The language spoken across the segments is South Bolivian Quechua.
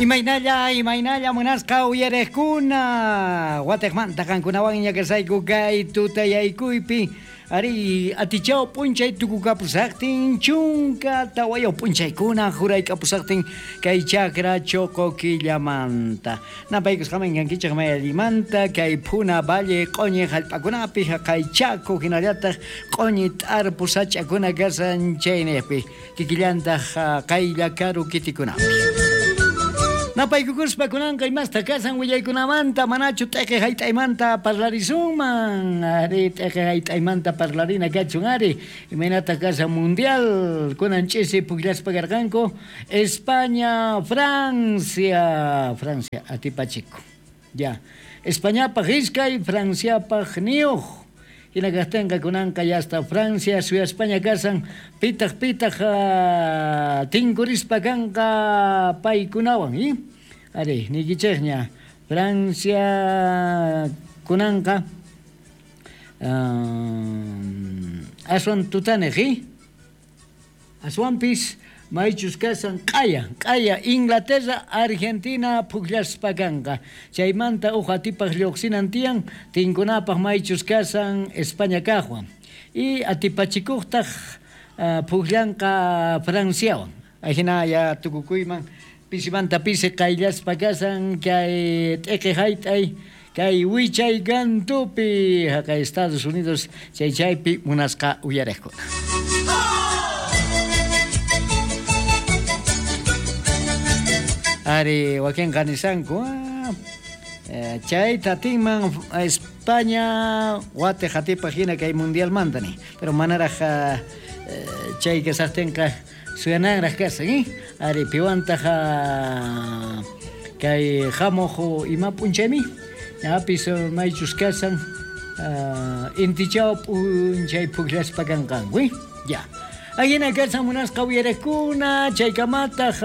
Imaynalla, imaynalla munasqa uyariqkuna. Watejmanta qankunawanña kasayku kay tutayaykuypi. Ari, atichaw p'unchay tukukapusaqtin, 14 p'unchaykuna juraykapusaqtin kay chakra choqo killamanta. Napaykusqaman kankichik may allimanta kay Puna Valle q'oñi hallp'akunapi haqay Chaco hinallataq q'oñi t'arpu sach'akuna kasan chayniqpi kikillantaq qaylla karu kitikunapi. Napaykukuspa kunanqa imasta kasan willaykunamanta manachu t'eqe hayt'aymanta parlarisunman, ari t'eqe hayt'aymanta parlarina kachun ari, imaynataq kasan mundial kunan ch'isi pukllaspa karqanku España, Francia, Francia atipachiku. Ya, Españapaq iskay, Franciapaq niyuq. Hina kaqtinqa kunanqa ya hasta Francia suyaspaña kasan, pitaq pitaq tinkurispa kanqa paykunawan, ¿eh? Ari, niykichikña, Francia kunanqa aswan tutaniq, ¿eh? Aswanpis maychus kasan q'aya, q'aya Inglaterra, Argentina pukllaspa kanqa. Chaymanta uj atipaq lluqsinan tiyan, tinkunapaq maychus kasan España kaqwan. Y atipachikuqtaq pukllanqa Franciawan. Ajina ya tukukuyman pisimanta pisi qayllaspa kasan kay t'eqe hayt'ay, kay wichay kantupi, haqay Estados Unidos chay chaypi munasqa uyariqkuna. Ari, wakinqa nisanku, chayta atinman España watiq atipaq hina kay mundialmanta ni, pero manaraq chay kasaqtinqa suyananraq kasan, ¿eh? Ari, piwantaq kay hamuq ima p'unchaymi, ñapis maychus kasan intichaw p'unchay pukllaspa kanqanku, ¿eh? Ya. Ahina kasan munasqa uyariqkuna, chaykamataq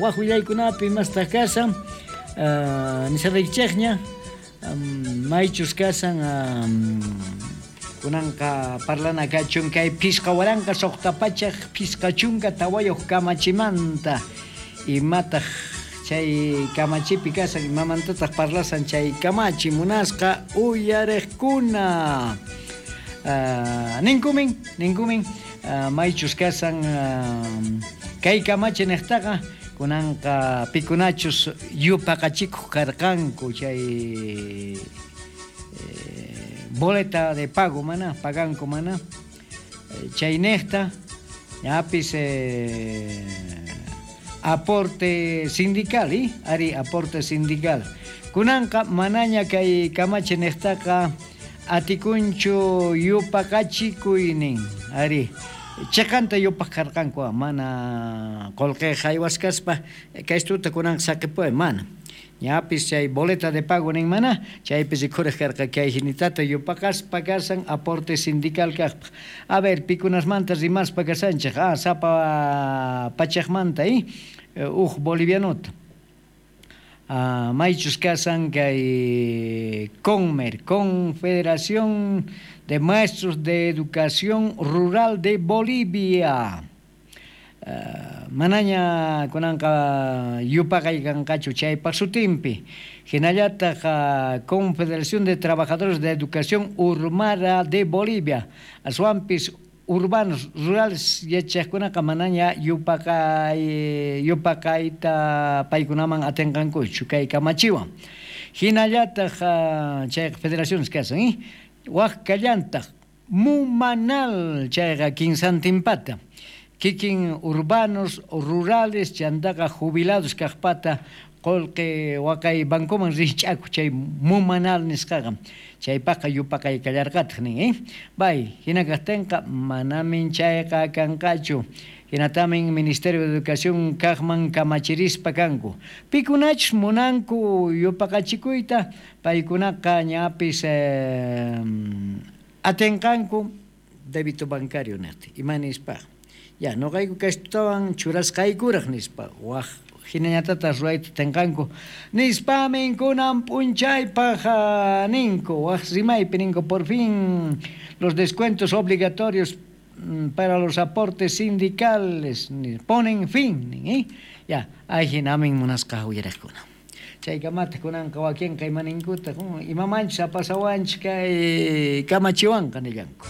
waj willaykunapi imastaq kasan, nisaraykichikña, maychus kasan kunanqa parlana kachun kay 5654 kamachimanta, imataq chay kamachipi kasan, imamantataq parlasan chay kamachi munasqa uyariqkuna. Ninkumin, ninkumin, maychus kasan kay kamachi niqtaqa kunanqa pikunachus yupaqachikuq karqanku chay boleta de pago mana, paganku mana, chay niqta ñapis aporte sindical, ¿eh? Ari aporte sindical. Kunanqa manaña kay kamachi niqtaqa atikunchu yupaqachikuynin, ari chiqanta yupaq karqanku, mana qullqi haywaskaspa kaystuta kunanqa saqipuy mana. Ñapis chay boleta de pago nin mana, chaypi rikhuriq karqa kay hinitata yupaqaspa kasan aporte sindical kaqpaq. A ver, pikunasmanta rimaspa kasanchik, sapa pachaqmanta, ¿eh? Uj bolivianota. Maychus kasan kay Conmer, Confederación de Maestros de Educación Rural de Bolivia. Manaña kunanqa yupaqay kanqachu chaypaq sutinpi. Hinallataq Confederación de Trabajadores de Educación Urbana de Bolivia. Aswanpis urbanos, rurales yachaqkunaqa manaña yupaqayta paykunaman atinqankuchu kay kamachiwan. Hinallataq chayqa federaciones kasan, ¿eh? Waj kallantaq Mumanal chayqa kinsantinpata. Kikin urbanos, rurales, chantaqa jubilados kaqpata qullqi waqay bancoman rich'aku chay Mumanal nisqaqa. Chaypaqqa yupaqay kallarqataq nin, ¿eh? Bay, hina kaqtinqa manamin chayqa kanqachu. Hinatamin Ministerio de Educación kaqman kamachirispa kanku. Pikunachus munanku yupaqachikuyta, paykunaqa ñapis atinqanku débito bancario niqti. Ima nispa? Ya, noqayku kaystutawan churasqaykuraq nispa. Waj hinañatataq ruwayta tinqanku. Nispamin kunan p'unchaypaq ninku, waj rimaypi ninku, por fin los descuentos obligatorios para los aportes sindicales ponen fin, nin, ¿eh? Ya, ajinamin munasqa uyariqkuna. Chaykamataq kunanqa wakinqa imaninkutaq, imamanchus apasawanchis kay kamachiwanqa nillanku.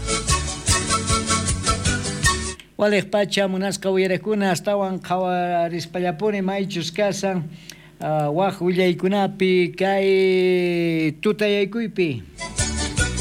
Waliq pacha munasqa uyariqkuna astawan qhawarispallapuni maychus kashan waj willaykunapi kay tutayaykuypi.